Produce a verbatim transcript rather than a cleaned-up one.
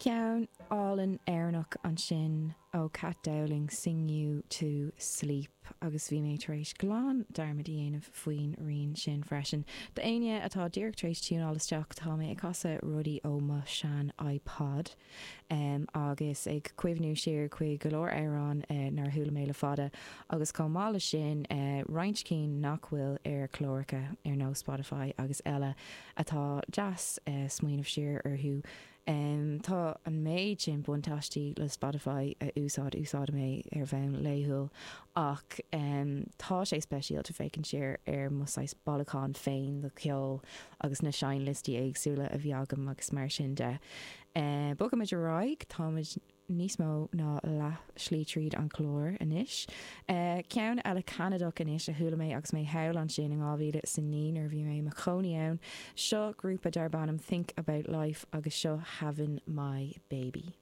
Ceann álainn Éireannach ansin ó Kat Dowling Sing You to Sleep agus bhí mé tar éis glan dearmad a dhéanamh faoin rian sin freisin. D'éinne atá díreach tar éis tiúnáil isteach tá mé ag casadh rudaí ó mo shean iPod um, agus ag cuimhniú siar chuig go leor amhrán uh, nár chuala mé le fada agus chomh maith leis sin uh, roinnt cinn nach bhfuil ar chláracha ar nós Spotify agus eile atá deas uh, smaoineamh siar orthu. Um, tá an méid sin buntáistí le Spotify a úsáid úsáidim é ar bhonn laethúil ach um, tá sé speisialta féachaint siar ar mo saghas bailiúchán féin de cheol agus na seinnliostaí éagsúla a bhí agam agus mar sin de. Uh, Bogaimid ar aghaidh táimid níos mó ná leath slí tríd an chlár anois. Uh, ceann eile Ceanadach anois a chuala mé agus mé thall ansin in dhá mhíle is a naoi nuair bhí mé i mo chónaí ann, seo grúpa darb ainm Think About Life agus seo Having My Baby.